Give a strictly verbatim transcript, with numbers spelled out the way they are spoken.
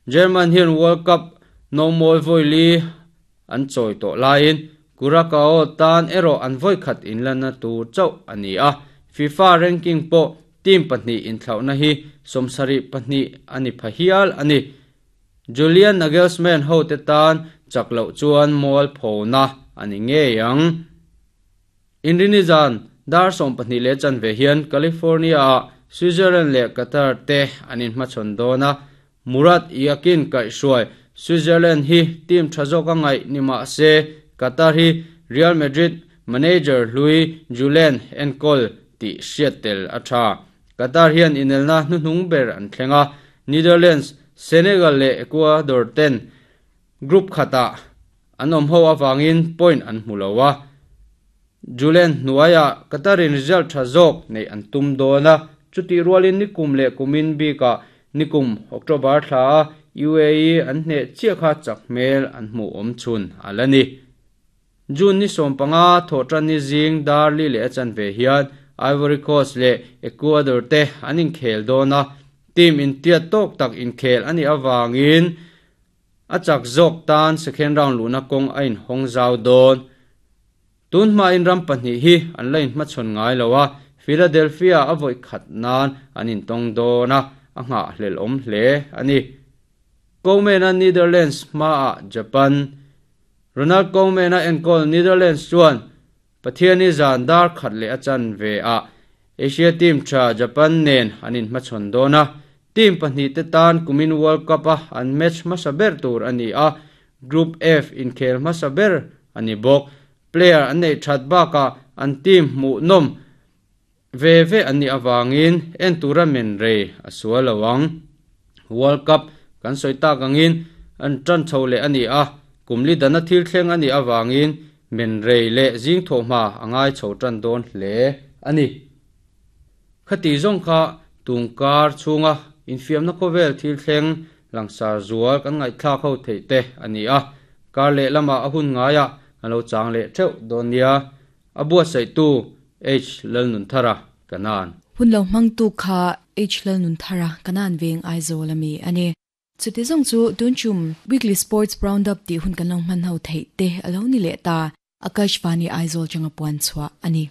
German hian World Cup no moi voili an choi to lain Curacao tan ero an voi khat in lana tu chau ani a FIFA ranking po team pahnih in thlauna hi somsari pahnih ani phahial ani Julian Nagelsmann ho te tan chaklo chuan mol phona ani nge yang Indonesian dar som pahnih le chan ve hian California Switzerland le Qatar te anin hmachhawn dawna Murat Yakin kai shuai Switzerland hi team thazok angai nima se Qatar hi Real Madrid manager Louis Julian Encol ti Seattle atha Qatar hian inelna hnuhnung ber an thlenga Netherlands Senegal le Ecuador ten group khata anom ho awangin point an hmulowa Julian Nuaya Qatarin result thazok nei an tum dona chuti rualin nikum le kumin bika nikum October thla U A E an hne chia kha chakmel an hmu om chun alani June ni sompanga thotran ni jing darli le chan ve hian Ivory Coast le Ecuador te anin khel dona team in tia tok tak in khel ani awangin achak zok tan second round luna kong ain hong zau don tun ma in ram pahnih hi an lain hma chon ngai lowa Philadelphia avoi khat nan anin tong dona a nga hlel om hle ani Koeman Netherlands ma a Japan Ronald Koeman enkol Netherlands chuan Pathiani zan dar khat le achan ve a Asia team tha Japan nen anin hmachhawn dona team pahnih te tan kumin World Cup a an match hmasa ber tur ani a Group F in khel hmasa ber ani bawk player an nei that baka an team hmu nom ve ve ani awangin en tura men re asualawang World Cup kan soita kangin an tran chole ani a kumli dana thil thleng ani awangin men re le jing tho ma angai chho tran don hle ani khati zong kha tungkar chunga infiam na khovel thil thleng langsar zual kan ngai thla kho thei te ani a kar le lama ahun ngaya alo chang le theu donia abua sei tu H Lalnun Thara kanan hun lo mang tu kha H Lalnun Thara kanan veng Aizawl ami ani chuti zong chu tunchum weekly sports roundup ti hun kan long man ho thei te alo ni le ta Akashvani Aizawl changa puan chwa ani.